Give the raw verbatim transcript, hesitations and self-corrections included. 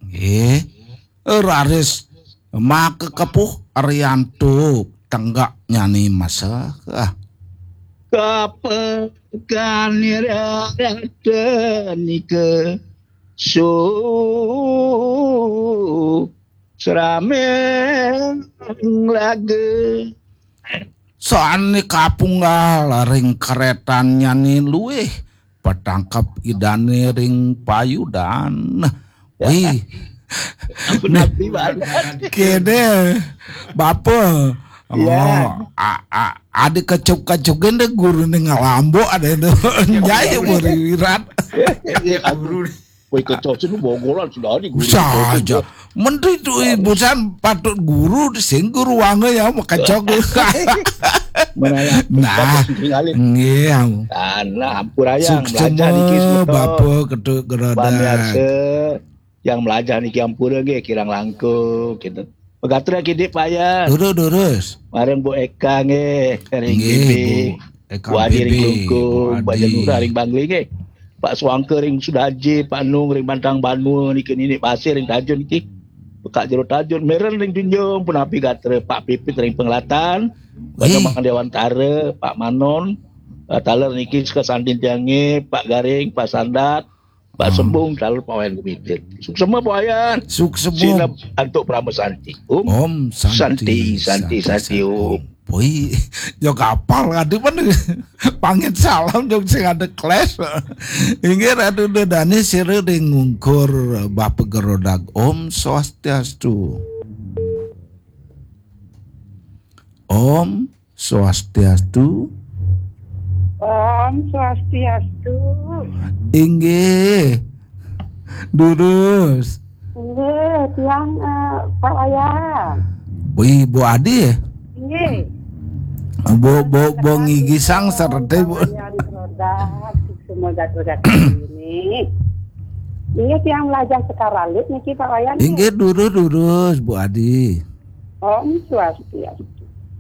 Nggih. Raris maka kepuh Arianto tenggak nyani masa. Ah. Kapekan rata nika su srameng laga. Sane kapunggal ring karetan nyane luih patangkep idane ring payudan. Wih. Ampun, abdi banget. Kene, Bapa. Ya. Oh, a, a, ada kecup-kecukin deh guru ning ngalambok ada itu. Nyai mau riwirat. Ya, guru. Woi, kecocin lu bogolan sudah ada guru. Saja. Menteri itu ibu san patut guru di sing guru wange ya mau kecok. Nah, nggih. Nah, ampun aja. Suksema, belajar niki semua. Bapa Ketut Gerodak. Pemirsa yang belajar niki ampura nggih, kirang langkung gitu. Pegatra kidik payah. Durus, durus. Marang Bu Eka nggih, ring nggih, Bibi. Bu Eka Bu Adi ring Bibi, Klungkung, Bu Adi. Janura ring Bangli nggih. Pak Suangka ring Sudaji, Pak Nung ring Bantang Banua niki, Nini Pasir ring Tajun niki. Pekak Jero Tajun, Meren ring Junjung, punapi gatra Pak Pipit ring Pengelatan, Pak Wih. Jamang Dewantara, Pak Manon, eh, taler niki seka sandin tiange, Pak Garing, Pak Sandat, Pak Sembung, taler Pak Wayan Gumitir. Suksema Pak Wayan. Suksema. Sinep antuk Parama Santi. Om. Om Santi, Santi, Santi, Santi, Santi, Om. Om. Poi, yo kapal ngadi pun pangit salam jog sing ada kelas. Inggih Ratu Dedane sira ring ngungkur Bapa Gerodak. Om Swastiastu. Om Swastiastu. Om Swastiastu. Inggih. Durus. Inggih, tiang, eh, Pak Wayan. Wih, Bu Adi ya? Inggih. Bu, Bu, Bu Ngigi Sang serete, Bu. Pak Wayan Gerodak, semua gatu-gatu ini. Inggih, tiang belajar sekaralit niki, Pak Wayan. Inggih, durus, durus, Bu Adi. Om Swastiastu.